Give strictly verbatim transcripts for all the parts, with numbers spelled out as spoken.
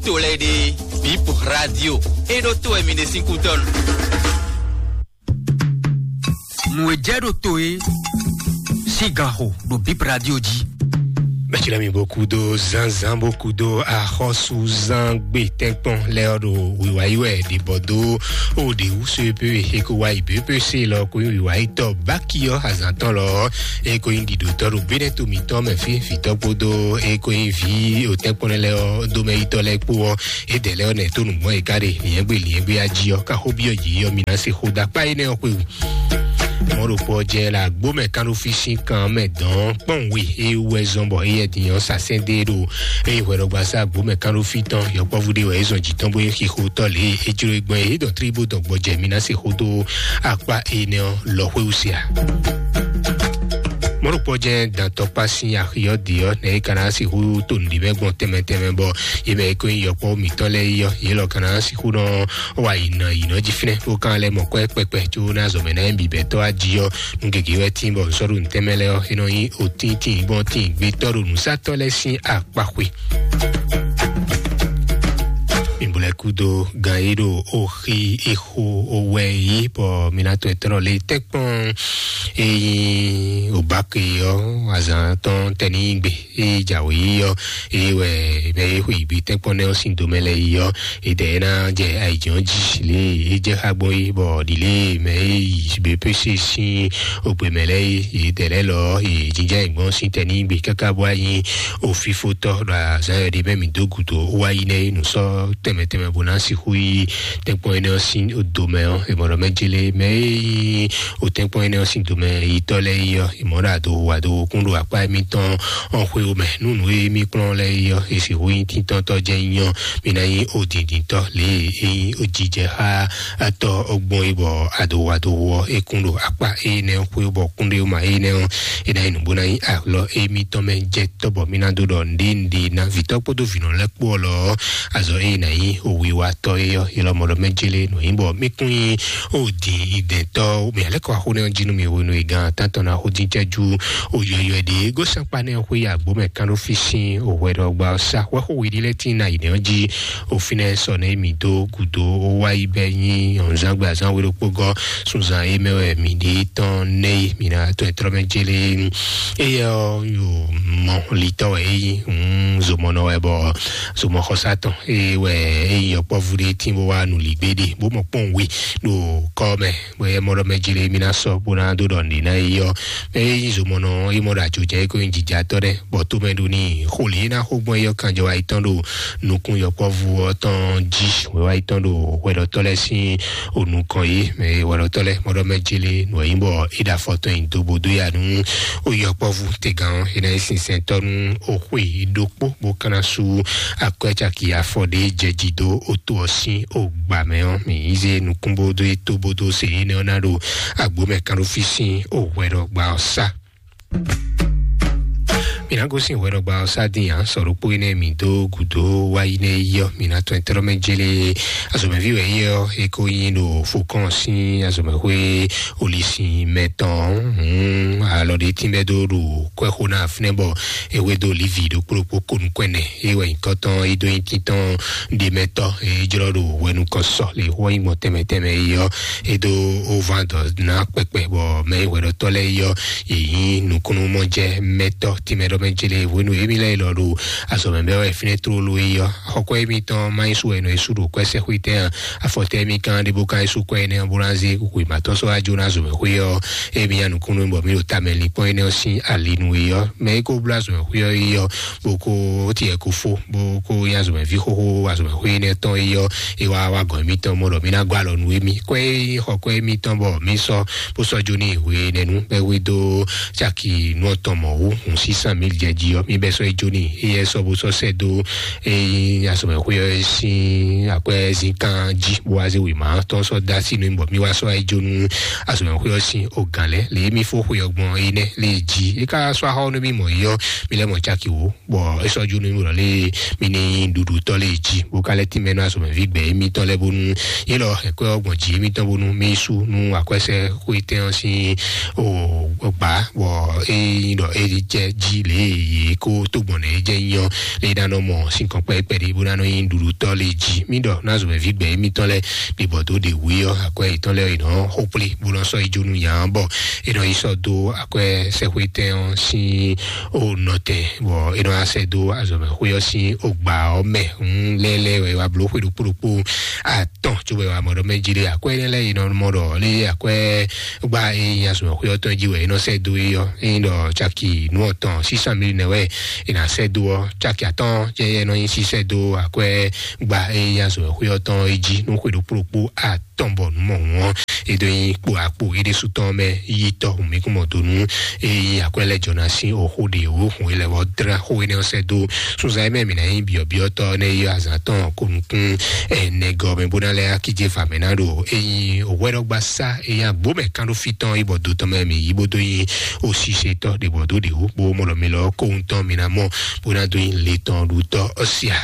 To lɛ́ɛ ɖe, Bip Radio, é ɖó to wɛ mi ɖe sín kútɔ́nu. Nǔ e jɛ ɖo to é sín gan xo ɖo Bip Radio jí. Bɛtsilɛ mi bó kú dó zánzán bó kú dó axɔ́súzán gbé tɛ́nkpɔ́n lɛ́ ɔ́ ɖo wǐwá yi wɛ ɖě bɔ dó o ɖě wú so e pé e ko wá yi bě pé se lɔ ko nyí wǐwá yi tɔ báki ɔ́ azǎn tɔn lɔ ɔ́ e ko nyí ɖiɖotɔ́ ɖo bénɛ́ to mǐtɔn mɛ fí vǐtɔ́ kpódó e ko nyí vǐ o tɛ́nkpɔ́n lɛ́ ɔ́ dómɛyítɔ́ lɛ́ɛ kpó ɔ́, édɛɛ lɛ́ɛ ɔ́ nɛ̌ tó nǔgbɔ́n e ka ɖe nyɛ̌gbé nyɛ̌gbé ají ɔ́ ká xó byɔ́ yě ɔ́ mi ná se xó dó akpá énɛ́ ɔ́ xwewú. Mɔ̌ ɖokpó ɔ́ jɛ la gbó mɛ kánɖófí sín kan mɛ dɔn kpɔ́n we é wú wɛ zɔn bɔ éyɛ́ din ɔ́ sa sɛ́n dó e ɖo eye hwɛɖɔgbasá gbó mɛ kánɖófí tɔn yɔkpɔ́vú ɖé wɛ é zɔn jǐ tɔn bó é xixo tɔ́ lě é jló é gbɔn é dɔn tlí bó dɔn gbɔjɛ mi ná se xó dó akpá énɛ́ ɔ́ lɔ xwéwú se a. Mɔ̌ ɖokpó ɔ́ jɛ dantɔkpá sín axi ɔ́ ɖe ɔ́ nɛ é ka ná sixú to nǔɖé mɛ gbɔn tɛnmɛ tɛnmɛ bɔ yě mɛ é ko nyí yɔkpɔ́ mǐtɔn lɛ́ɛ é ɔ́ yě lɔ ka ná sixú nɔ wá yi nɔ yi nɔ jí fínɛ́ bó ka lɛ́ mɔ kwɛ́ kpɛkpɛ có ná zɔmɛ ná nyi bǐbɛ́tɔ́ wá jí ɔ́. Nú gěgé wɛ tín bɔ nsɔ́ɖu ntɛ́nmɛ lɛ́ɛ ɔ́ é nɔ nyí otín tín gbɔn tín gbétɔ́ ɖo nǔsátɔ́ lɛ́ɛ sín akpaxwe. Mǐbúlɛ́ kúdó gan e ɖo oxi exo owɛ yí bɔ mi ná tɔn etɔ́nɔ le tɛ́kpɔn e nyí obáke ɔ́ azǎn tɔn tɛnígbe e jǎwe yí ɔ́, eye wɛ mɛ e xwe yǐgbe tɛ́kpɔ́ nɛ́ ɔ́ sín domɛ lɛ́ɛ yí ɔ́, e dɛ é ná jɛ ayǐjínjɔ́n jí lě e é jɛ xá gbɔn é bɔ ɖi lě e mɛ e yi běpése sín ogbe mɛ lɛ́ɛ é, e dɛ lɛ́ɛ lɔ ɔ́, e jínjɔ́n ayǐ gbɔn sín tɛnígbe káká bó wá nyí ofífótɔ́ ɖo azǎn e ɖe mɛ mǐ dó gǔdo wá yi nɛ́ é nǔ sɔ́ tɛnmɛ tɛnmɛ bó ná sixú yí tɛ́nkpɔ́n énɛ́ ɔ́ sín domɛ ɔ́, è mɔ ɖɔ mɛ jélé mɛ e nyí o tɛ́nkpɔ́n énɛ́ ɔ́ sín domɛ yitɔ́ lɛ́ɛ yi ɔ́, è mɔ ɖɔ adohu adohu kún ɖo akpá émítɔn ɔ́ xwé mɛ. Nú nǔ e mí kplɔ́n lɛ́ɛ yi ɔ́, è sixú nyí tíntɔ́ntɔ́ jɛ́n nyí ɔ́, mí ná nyí odǐndíntɔ́ lě e é nyí ojijɛ xá atɔ́ ɔ́ gbɔn é bɔ adohu adohu ɔ́ é kún ɖo akpá énɛ́ ɔ́ xwé bɔ kúnɖéwúma énɛ́ ɔ́, é ná nyí nǔ bó ná nyí alɔ émítɔn mɛ jɛ tɔ́ bɔ mí ná dó ɖɔ nǔɖé nǔɖé ná vǐtɔ́ kpódó vǐnɔ lɛ́ɛ kpó ɔ́ lɔ ɔ́, azɔ ée ná nyí wiwatɔ́ é ɔ́, é lɔ mɔ ɖɔ mɛ jélé nǔ nyí bɔ mí kún nyí o din idɛntɔ́ mɛ alɛ kɔ axó nɛ ɔ́ jí nú mi hwenu e gan tántɔn ná xó dín cɛ́jú o yɔyɔ ɖě gosɛnkpa nɛ xwé ya gbó mɛ kán ɖó fí sín o hwɛ ɖɔ gba ɔ́ sá hwɛ xó we ɖi lɛ́ tín ná yi nɛ ɔ́ jí o fínɛ́ sɔ nɛ mi dó gǔdo o wá yi bɛ nyí ɔ̀nzán gbe azán we ɖokpó gɔ́ sunzan é mɛ wɛ mi ɖi tɔn nɛ yi mi ná tɔn ɛ trɔ mɛ jélé. Eye ɔ́ yo mɔ litɔ wɛ é nyí zomɔnɔ wɛ bɔ zomɔxɔsá tɔn eye wɛ é nyí yɔkpɔ́vú ɖé tín bó wá nǔ lí gbé ɖe bó mɔ kpɔ́n we ɖo kɔ́ mɛ. Bɔ é mɔ ɖɔ mɛ jélé mí ná sɔ́ bó ná dó ɖɔ nǔɖé ná é yɔ mɛ é nyí zomɔnɔ é mɔ ɖo ajo jɛ é ko nyí jijatɔ́ ɖɛ bɔ tó mɛ ɖo ní xo lě é ná xó gbɔn é yɔ kanjɔ wá yi tɔn ɖo nukún yɔkpɔ́vú ɔ́ tɔn jí wɛ wá yi tɔn ɖo hwɛɖɔtɔ́ lɛ́ɛ sín onukɔn yé mɛ hwɛɖɔtɔ́ lɛ́ɛ mɔ ɖɔ mɛ jélé nǔ e nyí bɔ é ɖo afɔ tɔn nyi dó bó dó ya nú ó yɔkpɔ́vú tɛgán ɔ́ é ná nyí sinsɛntɔ́ nú ó xwe ɖokpó bó ka ná sú akwɛ́ caki afɔ ɖé jɛ jí dó ó tó ɔ́ sín ó gbǎ mɛ ɔ́ mǐ yí zé nukún bó dó é tó bó dó se énɛ́ ɔ́ ná ɖo agbǒ mɛ kán ɖó fí sín ó hwɛɖɔgba ɔ́ sá. Mǐ ná gosín hwɛɖɔgba ɔ́ sá dín ǎ sɔ ɖokpó énɛ́ mǐ dó gǔdo wá yi nɛ́ yi ɔ́ mǐ ná tɔn ɛ tlɔ́ mɛ jélé azɔ̌mɛví wɛ é ɔ́ é ko nyí ɖo fokɔ́n sín azɔ̌mɛxwé olísin mɛtɔn hǔn alɔ ɖé tínbɛ́ dó ɖo kwɛ́xó ná fínɛ́ bɔ é hwedó Livi ɖokpó ɖokpó konu kɔn ɛnɛ é wɛ nyǐkɔ tɔn é dó nyí títɔn ɖé mɛtɔn é jlɔ́ ɖo hwɛnukɔ sɔ lě xó nyí gbɔn tɛnmɛ tɛnmɛ é ɔ́ é dó ován dɔ ná kpɛkpɛ bɔ mɛ é hwɛɖɔtɔ́ lɛ́ɛ é ɔ́ yě nyí nukúnnú mɔ jɛ mɛtɔ́ tínmɛ ɖɔ mɛ jélé hwenu émí lɛ́ɛ lɔ ɖo azɔ̌mɛ bɛ́ wɛ fínɛ́ tlóló é ɔ́ xɔkɔ́ émítɔn má nyí sú wɛ nɔ é sú ɖo kwɛ́sɛ́xwé tɛn ǎ. Afɔtɛ́ mì kan ɖé bó ka nyí sú kɔ énɛ́ ɔ́ bó ná zé kukwe mǎtɔn sɔ́ wá jó ná zɔ̌mɛxwé ɔ́, émí nya nukúnnú bɔ mí ɖo tamɛ linkpɔ́n énɛ́ ɔ́ sín alinu é ɔ́, mɛ é kó bló azɔ̌mɛxwé ɔ́ é ɔ́, bó kó tiɛ kó fó, bó kó nyí azɔ̌mɛví xóxó azɔ̌mɛxwé énɛ́ tɔn é ɔ́, é wá wá gɔ̌n émítɔn mɔ ɖɔ mí ná gɔ́ alɔ nú émí. Kɔ é nyí xɔ kɔ émítɔn bɔ mí sɔ́ bó sɔ́ jó ní hwe énɛ́ nú bɛ́ hwedó caki nú ɔtɔn mɔ̌ wú hǔn sísán mǐ jɛ jí ɔ́, mí bɛ́ sɔ́ é jó ní éyɛ́ sɔ́ bó sɔ́ sɛ́ dó é nyí azɔ̌mɛxwé ɔ́ sín akwɛ́zínkán jí bó wá zé wěma tɔn sɔ́ dó así nú mì bɔ mí wá sɔ́ é jó nú azɔ̌mɛxwé ɔ́ sín ogǎn lɛ́ɛ lě e mí fó xwe ɔ́ gbɔn énɛ́ lě e jí é ká sɔ́ axɔ́ nú mì mɔ̌ é ɔ́, mí lɛ́ mɔ caki wǒ bɔ é sɔ́ jó nú mì ɖɔ lé mì ní nyí ɖuɖutɔ́ lé jí bó ka lɛ́ tínmɛ nú azɔ̌mɛví gbɛ émítɔn lɛ́ɛ bónú yě lɔ hɛ̌kɔ́ ɔ́ gbɔn jǐ émítɔn bónú mì yi sú nú akwɛ́sɛ́xwétɛn ɔ́ sín o gbá, bɔ é nyí ɖɔ é jɛ jí lě e yě kó tó gbɔn nɛ é jɛ nyɔ lě e ná nɔ mɔ sín kɔn kpɛkpɛ ɖé bó ná nɔ nyí ɖuɖutɔ́ lě jí. Mí ɖɔ ná zɔmɛví gbɛ émítɔn lɛ́ɛ ɖe bɔ dó ɖe wú ɔ́, akwɛ́ yětɔn lɛ́ɛ è nɔ xó kplé bó nɔ sɔ́ yi jó nú nya ɔ́, bɔ è nɔ yi sɔ́ dó akwɛ́ sɛxwétɛn ɔ́ sín o nɔtɛn, bɔ è nɔ wá sɛ dó azɔ̌mɛxwé ɔ́ sín ogba ɔ́ mɛ. Hun lɛ́lɛ́ wɛ wá bló xwé ɖokpó ɖokpó atɔn, cóbɔ wá mɔ ɖɔ mɛ jí ɖé akwɛ́ énɛ́ lɛ́ɛ è nɔ mɔ ɖɔ lé akwɛ́ gba e nyi azɔ̌mɛxwé ɔ́ tɔn jí wɛ è nɔ sɛ dó é ɔ́. É nyí ɖɔ caki nú ɔtɔn sísan mili nɛ wɛ è nǎ sɛ dó ɔ́, caki atɔn jɛ yɛ nɔ nyi sísɛ dó akwɛ́ gba e nyi azɔ̌mɛxwé ɔ́ tɔn é jí nú xwé ɖokpó ɖokpó atɔn tɔn bɔ nǔ mɔ hǔn ɔ́, é ɖó nyí kpo akpo é ɖésú tɔn mɛ yi tɔ hǔn mí kún mɔ dó nú é nyí akwɛ́ lɛ́ jɔ ná sín oxó ɖe wǒ hǔn é lɛ́ vɔ dlá xó énɛ́ ɔ́ sɛ́ dó sunzan e mɛ mǐ ná nyí byɔ̌byɔ́tɔ́ nɛ́ yi azǎn tɔn ko nukún ɛnɛ gɔ́ mɛ bó ná lɛ́ akíjé fa mɛ ná ɖo é nyí òwɛ́ɖɔgba sá é nyí agbó mɛ kán ɖó fí tɔn é bɔ do tɔn mɛ mǐ yí bó dó nyí osísetɔ́ ɖe bɔ dó ɖě wú bó mɔ lɔ mi lɔ kóhun tɔn mǐ ná mɔ bó ná dó nyí le tɔn ɖu tɔ́ ɔ́ sia.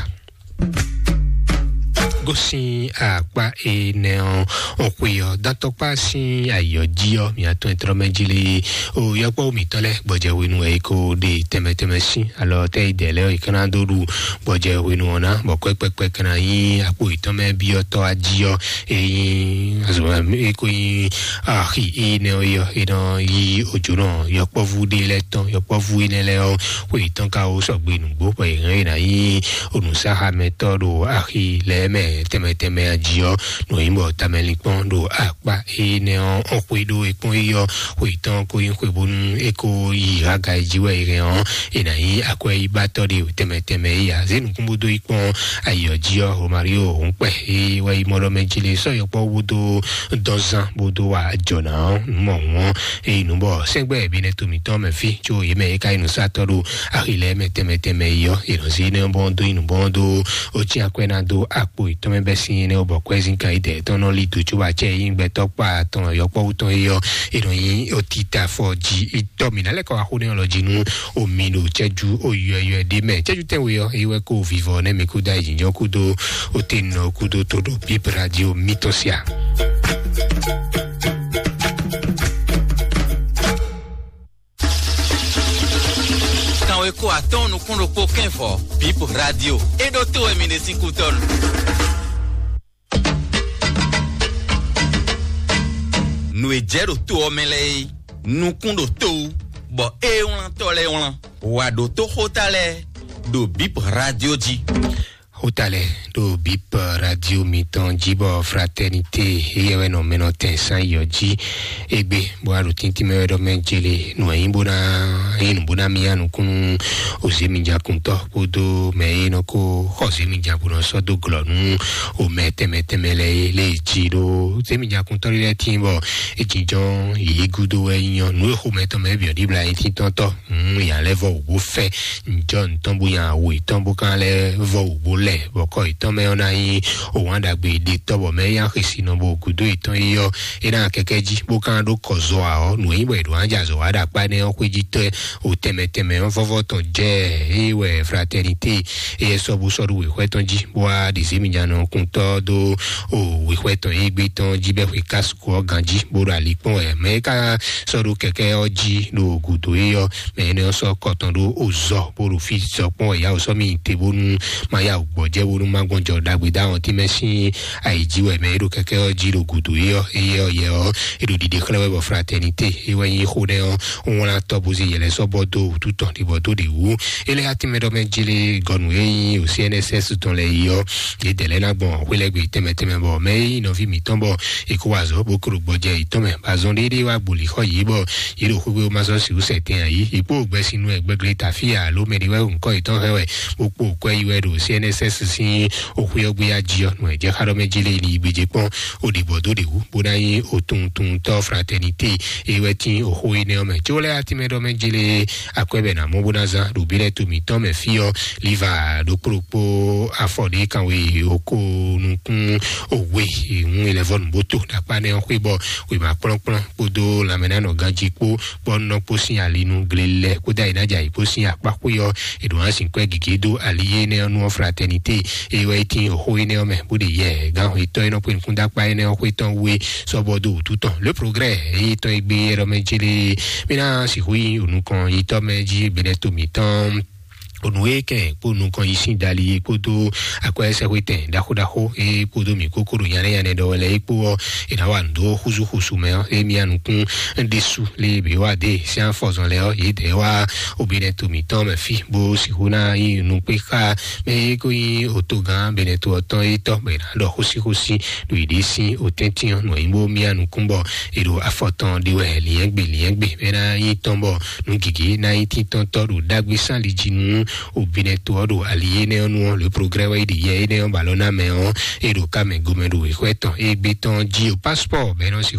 Gosín akpá énɛ́ ɔ́, ɔ̀xwe ɔ́, dantɔkpá sín ayǐ ɔ́ jí ɔ́, mǐ atɔn e tlɔ́ mɛ jí lé o yɔkpɔ́ mǐtɔn lɛ́ɛ gbɔjɛ hwenu wɛ é ko ɖe tɛnmɛ tɛnmɛ sín alɔ tɛ́ yi dɛ lɛ́ɛ ɔ́, è ka ná dó ɖu gbɔjɛ hwenu ɔ́ ná, bɔ kɔ́ kpɛkpɛ ka ná nyí akpo yětɔn mɛ byɔ́tɔ́ ají ɔ́, é nyí azɔ̌ é ko nyí axi énɛ́ ɔ́ yɔ, é nɔ yí òjò nɔ yɔkpɔ́vú ɖé lɛ́ɛ tɔn, yɔkpɔ́vú énɛ́ lɛ́ɛ ɔ́, xwe yětɔn ka wó sɔgbe nǔgbó bɔ yě hɛn yě ná nyí onǔsáxamɛtɔ́ ɖo axi lɛ́ɛ mɛ tɛnmɛ tɛnmɛ ají ɔ́, nɔ nyí bɔ tamɛlinkpɔ́n ɖo akpá énɛ́ ɔ́ ɔ́ xwé ɖó é kpɔ́n yi ɔ́, xwe tɔn ko nyí xwe bónú é ko yi haga e jí wɛ é hɛn ɔ́, è nǎ nyí akwɛ́yíbatɔ́ ɖe tɛnmɛ tɛnmɛ yi ǎ. Zé nukún bó dó yi kpɔ́n ayǐ ɔ́ jí ɔ́, Romario òun kpɛ é wɛ yi mɔ ɖɔ mɛ jí lé sɔ́ yɔkpɔ́ bó dó dɔn zán bó dó wa jɔ̌ná ɔ́, nǔ mɔ hǔn ɔ́, é yi nǔ bɔ sɛ́ngbɛ́ bínɛ́ to mǐtɔn mɛ fí, có yě mɛ é ka nyí nǔsatɔ́ ɖo axi lɛ́ɛ mɛ tɛnmɛ tɛnmɛ yi ɔ́, è nɔ zé énɛ́ ɔ́ bɔ dó yi nǔ bɔ dó ó cí akwɛ́ ná dó akpo yětɔn mɛ bɛ́ sín énɛ́ ɔ́, bɔ kwɛ́zín kan yi dɛ̌ tɔn nɔ lí dǒ cóbɔ acɛ e nyí gbɛtɔ́ kpa tɔn yɔkpɔ́wú tɔn é ɔ́, è nɔ nyí otita fɔ jí itɔ́ mǐ ná lɛ́ kɔ wá xó nɛ́ ɔ́ lɔ jí nú omi ɖo cɛ́jú oyɔyɔ ɖé mɛ. Cɛ́jú tɛ́nwe ɔ́, é wɛ kó vivɔ nɛ́ mi kúdó ayǐjínjɔ́n kúdó otenɔ kúdó tó ɖo bíbradio mítɔn sia. Kanwe ko atɔn nukún ɖokpó kɛnvɔ bip radio. E ɖo to wɛ mi ɖe sín kútɔnu. Nǔ e jɛ ɖo to ɔ́ mɛ lɛ́ɛ é, nukún ɖo to wú, bɔ é wlán tɔ lɛ́ɛ wlán. Wǎ ɖo tó xóta lɛ́ɛ ɖo bip radio jí. Xóta lɛ́ɛ ɖo bip radio mitɔn jí bɔ fraternité éyɛ́ wɛ nɔ mɛnɔ tɛn sán yɔ jí. Égbé bó wá ɖo tíntín mɛ wɛ ɖɔ mɛ jele nǔ e nyí bó ná nyí nǔ bó ná mía nukúnnú òzémìjakùntɔ́ kpódó mɛ e nɔ kó xɔ òzémìja bó nɔ sɔ́ dó glɔ̌ nú omɛ tɛnmɛ tɛnmɛ lɛ́ɛ lé jí ɖó òzémìjakùntɔ́ lɛ́ɛ tíin bɔ é jínjɔ́n yě gúdo wɛ nyí ɔ́ nǔ e xomɛ tɔn mɛ bǐ ɔ́ ɖíbla nyí tíntɔ́ntɔ́. Nya lɛ́ vɔ wǔ bó fɛ njɔ ntɔn bó nya awo etɔn bó kan lɛ́ vɔ wǔ bó lɛ bɔ kɔ etɔn mɛ ɔ́ ná nyí òwán ɖagbe ɖe tɔ́ bɔ mɛ é nya xisi nɔ bó gúdo etɔn yi ɔ́ é ná kɛkɛ jí bó kan ɖó kɔ zɔ ǎ ɔ́ nǔ e nyí bɔ è ɖǒ ánjɛ azɔ̌ wa ɖo akpá énɛ́ ɔ́ xwé jí tɔ́ o tɛnmɛ tɛnmɛ ɔ́ vɔ́vɔ́ tɔn jɛ é wɛ fraternité é sɔ́ bó sɔ́ ɖó wěxwɛ́ tɔn jí bó wá ɖi zěmijannɔkuntɔ́ dó o wěxwɛ́ tɔn e gbé tɔn jí bɛ́ xwe kásu kú ɔ́ ganjí bó ɖo ali kpɔ́n wɛ mɛ e ka sɔ́ ɖó kɛkɛ́ ɔ́ jí ɖo gǔdo é ɔ́ mɛ énɛ́ ɔ́ sɔ́ kɔ tɔn ɖó ozɔ bó ɖo fí sɔ kpɔ́n wɛ yá wǒ sɔ́ mì te bónú ma yá wǔ gbɔjɛ́ bónú ma gbɔn jɔ ɖagbe dó awɔntín mɛ sín ayǐ jí wɛ mɛ e ɖo kɛkɛ́ ɔ́ jí ɖo gǔdo é ɔ́ éyɛ́ ɔ́ yɛ ɔ́ é ɖo ɖiɖe xlɛ́ wɛ bɔ fraternité é wɛ nyí xó nɛ́ ɔ́ wlán tɔ́ bó zé yɛ lɛ́ɛ sɔ́ bɔ dó wǔtu tɔn ɖi bɔ dó ɖě wú é lɛ́ atínmɛ ɖɔ mɛ jlé gɔnu e nyí o C N S S tɔn lɛ yi ɔ́ yě dɛ lɛ́ ná gbɔn xwé lɛ́ gbe tɛnmɛ tɛnmɛ bɔ mɛ e nyí nɔví mǐtɔn bɔ è kó wa azɔ̌ bó klo gbɔjɛ yětɔn mɛ bɔ azɔn ɖéɖé wá gboli xɔ yě bɔ yě ɖo xwéxwé ma sɔ́ sixú sɛ tɛn ǎ yí yě kpó gbɛsinu wɛ gbɛglé tafí alo mɛ ɖé wɛ ŋkɔ yětɔn hɛn wɛ bó kpó kwɛ yi wɛ ɖo C N S S sín òxwé ɔ́ gbé ají ɔ́ nɔ ɛ jɛ xá ɖɔ mɛ jí lé ní gbéjé kpɔ́n ó ɖi bɔ dó ɖe wú bó ná nyí òtuntuntɔ fraternité é wɛ tín òxó énɛ́ ɔ́ mɛ có lɛ́ atínmɛ ɖɔ mɛ jí lé akwɛ́ bɛ ná mɔ bó ná zán ɖo bí lɛ́ to mǐtɔn mɛ fí ɔ́ liva ɖokpó ɖokpó afɔ ɖé kanwe òkó nukún òwe ìhun ilẹ̀ vɔ nùbótó ɖakpá nɛ ɔ́ xwé bɔ wěma kplɔ́nkplɔ́n kpódó lanmɛnánɔ ganjí kpó bɔ nɔ kpó sín ali nú glelɛ kpódó ayǐnájà yìí kpó sín akpá xwé ɔ́ èɖò hã sìnkú ɛ gǐgé dó ali énɛ́ ɔ́ nú ɔ́ fratɛni te. Eye wɛ tin oxó énɛ́ ɔ́ mɛ bó ɖe yɛ gán etɔ́ e nɔ xwe nukún dó akpá énɛ́ ɔ́ xwé tɔn wé sɔ́bɔ dó wǔtu tɔn. Le progrès eye tɔn e gbé yɛ ɖɔ mɛ jélé mí ná sixú yi onukɔn yitɔ́ mɛ jí benɛ to mǐtɔn. Onu e kɛn kpó nukɔn yi sín dali e kpódó akwɛ́sɛxwétɛn ɖaxó ɖaxó e kpódó mǐ kókó ɖo nyanɛ nyanɛ ɖɔ wɛ lɛ é kpó ɔ́, è nǎ wa nǔ dó xúzúxúsu mɛ ɔ́, émí anukún ɖésú lé bǐ wá dé sín afɔzɔn lɛ ɔ́, yě dɛ wá obinɛ to mǐtɔn mɛ fí bó sixú ná yi nukpé xá mɛ e kó nyí otogán benɛ to ɔ́ tɔn é tɔ́ bɔ è nǎ ɖɔ xósíxósí ɖo yě ɖě sín otɛ́ntin ɔ́ nɔ nyí bó mí anukún bɔ è ɖo afɔ tɔn ɖi wɛ liɛ́ngbè liɛ́ngbè mɛ ná nyí tɔn bɔ nú gěgé ná nyí títɔ́ntɔ́ ɖo ɖagbe sán li jí nú obinɛ to ɔ́ ɖo ali énɛ́ ɔ́ nu ɔ́, le progrès wɛ yi ɖi yɛ énɛ́ ɔ́ ba lɔ ná mɛ ɔ́, é ɖo ká mɛ gomɛ ɖo wěxwɛ tɔn é gbé tɔn jí o passeport bɛnɔ